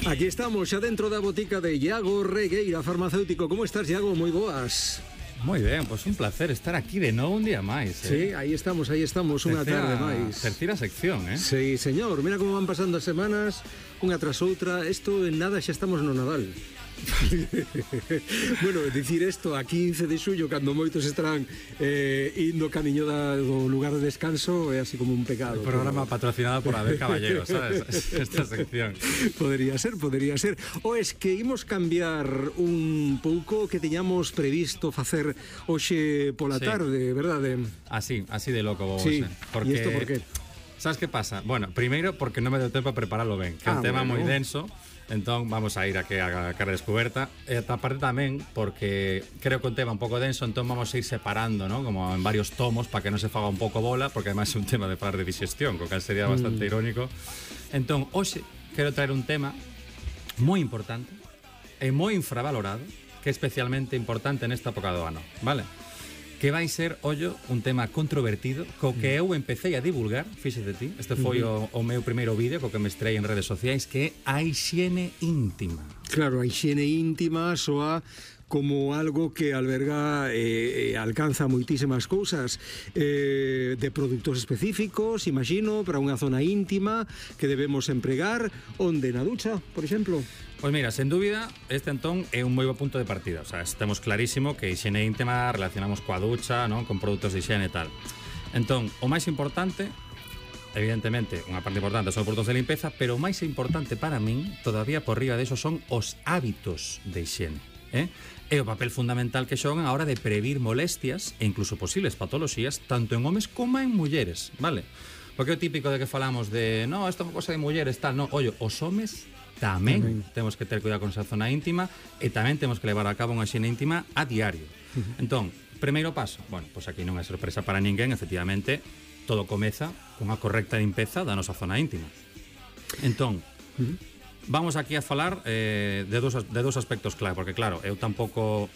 Aquí estamos, xa dentro da botica de Iago Regueira, farmacéutico. Como estás, Iago? Moi boas. Moi ben, pois un placer estar aquí de novo un día máis. Sí, aí estamos, unha tarde máis. Terceira sección, Sí, señor, mira como van pasando as semanas, unha tras outra. Isto en nada xa estamos no Nadal. Bueno, dicir isto a 15 de xullo, cando moitos estarán indo camiño do lugar de descanso, é así como un pecado. El programa patrocinado por Abel Caballero, sabes? Esta sección. Podría ser. O es que imos cambiar un pouco que teñamos previsto facer hoxe pola tarde, verdade? Así de loco vos. Sí, porque... e isto por qué? Sabes que pasa? Bueno, primeiro porque non me deu tempo a prepararlo ben, que é un tema moi denso. Entón vamos a ir aquí a cara descoberta. E aparte tamén porque creo que un tema un pouco denso, entón vamos a ir separando, ¿no? Como en varios tomos para que non se faga un pouco bola, porque además é un tema de falar de digestión, co cal sería bastante irónico. Entón, hoxe quero traer un tema moi importante e moi infravalorado, que é especialmente importante nesta época do ano, vale? Que vai ser, ollo, un tema controvertido co que eu empecé a divulgar, fíxate ti, este foi o meu primeiro vídeo co que me estrei en redes sociais, que é a hixiene íntima. Claro, a hixiene íntima soa como algo que alberga alcanza moitísimas cousas de produtos específicos, imagino, para unha zona íntima que debemos empregar, onde na ducha, por exemplo. Pois mira, sen dúbida, este entón é un moi bo punto de partida. O sea, estamos clarísimo que hixiene íntima relacionamos coa ducha, non? Con produtos de hixiene e tal. Entón, o máis importante, evidentemente, unha parte importante son os produtos de limpeza, pero o máis importante para min, todavía por riba deso, son os hábitos de hixiene. É o papel fundamental que xogan a hora de previr molestias e incluso posibles patoloxías tanto en homes como en mulleres, vale? Porque é o típico de que falamos de no, isto é unha cosa de mulleres, tal, no, ollo, os homes tamén temos que ter cuidado con esa zona íntima e tamén temos que levar a cabo unha hixiene íntima a diario. Entón, primeiro paso, bueno, pois aquí non é sorpresa para ninguén, efectivamente, todo comeza cunha correcta limpeza da nosa zona íntima. Entón, vamos aquí a falar de dous aspectos clave, porque claro, eu tampouco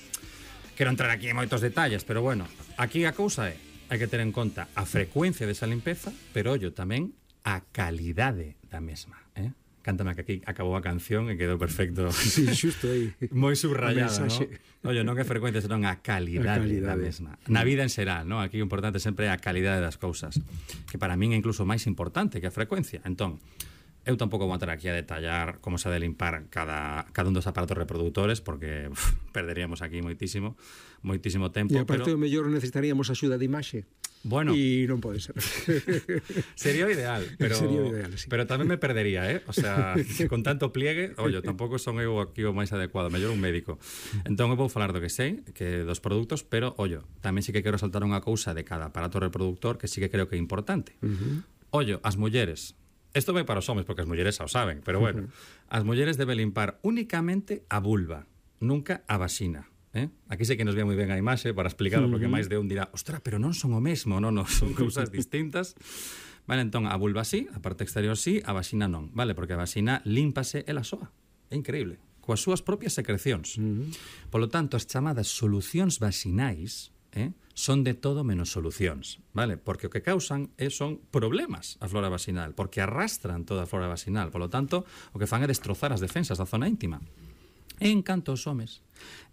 quero entrar aquí en moitos detalles, pero bueno, aquí a cousa é, hai que ter en conta a frecuencia desa limpeza, pero ollo tamén a calidade da mesma, Cántame que aquí acabou a canción e quedou perfecto. Sí, xusto aí. Moi subrayado, ¿no? Ollo, non é frecuencia, senón a calidade da mesma. Na vida en xeral, ¿no? Aquí o importante sempre é a calidade das cousas, que para min é incluso máis importante que a frecuencia. Entón, eu tampouco vou entrar aquí a detallar como se ha de limpar cada un dos aparatos reproductores, porque perderíamos aquí moitísimo tempo. E aparte o mellor necesitaríamos axuda de imaxe. Bueno, e non pode ser. Sería o ideal, pero sería o ideal, sí. Pero tamén me perdería, O sea, con tanto pliegue, ollo, tampouco son eu aquí o máis adecuado, mellor un médico. Entón eu vou falar do que sei, que dos produtos, pero ollo, tamén sí que quero saltar unha cousa de cada aparato reproductor que sí que creo que é importante. Ollo, as mulleres. Isto vai para os homes porque as mulleres xa o saben, pero bueno, as mulleres deben limpar únicamente a vulva, nunca a vaxina. Aquí sei que nos ve moi ben a imaxe para explicarlo, porque máis de un dirá, ostra, pero non son o mesmo, non, son cousas distintas. Vale, entón, a vulva sí, a parte exterior sí, a vaxina non, vale, porque a vaxina límpase ela soa, é increíble, coas súas propias secrecións. Polo tanto, as chamadas solucións vaxinais son de todo menos solucións, vale, porque o que causan son problemas a flora vaxinal, porque arrastran toda a flora vaxinal, polo tanto, o que fan é destrozar as defensas da zona íntima. En canto aos homes,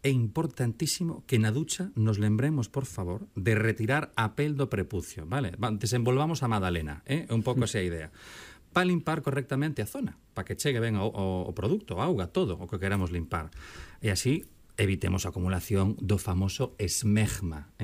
é importantísimo que na ducha nos lembremos, por favor, de retirar a pel do prepucio, vale? Desenvolvamos a magdalena, un pouco esa idea. Para limpar correctamente a zona, para que chegue ben o produto, a auga, todo o que queramos limpar. E así evitemos a acumulación do famoso esmegma,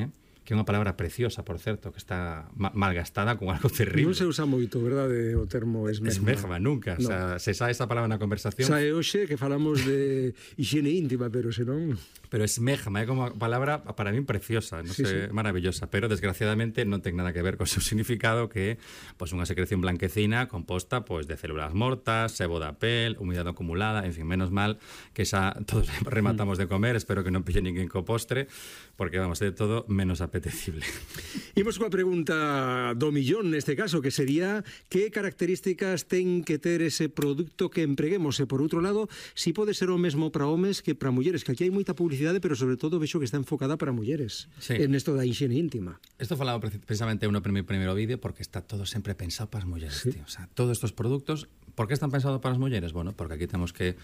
que é unha palabra preciosa, por certo, que está malgastada con algo terrible. Non se usa moito, verdade, o termo esmegma. Esmegma, nunca. No. O sea, se sae esa palabra na conversación. Sae hoxe que falamos de higiene íntima, pero senón... Pero esmegma é como unha palabra para min preciosa, non sei, maravillosa, pero desgraciadamente non ten nada que ver co seu significado, que é pois unha secreción blanquecina composta pois de células mortas, sebo da pel, humidade acumulada, en fin, menos mal que xa todos rematamos de comer, espero que non pille ninguén co postre, porque vamos, de todo menos a apetecible. Imos coa pregunta do millón neste caso, que sería que características ten que ter ese produto que empreguemos, e por outro lado, si pode ser o mesmo para homes que para mulleres, que aquí hai moita publicidade, pero sobre todo vexo que está enfocada para mulleres, en esto da higiene íntima. Isto falaba precisamente no primeiro vídeo, porque está todo sempre pensado para as mulleres, tío. O sea, todos estos productos, por que están pensados para as mulleres? Bueno, porque aquí temos que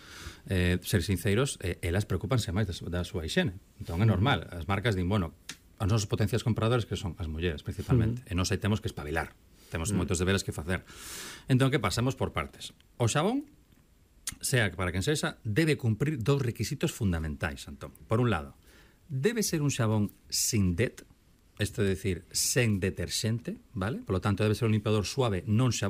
ser sinceros, elas preocupanse máis da súa higiene. Entón é normal, as marcas din, bueno, os nosos potenciais compradores, que son as mulleres principalmente, e nós aí temos que espabilar, temos moitos deberes que facer. Entón, que pasamos por partes? O xabón, sea para quen sexa, debe cumprir dous requisitos fundamentais, Antón. Por un lado, debe ser un xabón sin det, isto é dicir, sen deterxente, vale? Por lo tanto, debe ser un limpiador suave, non xabón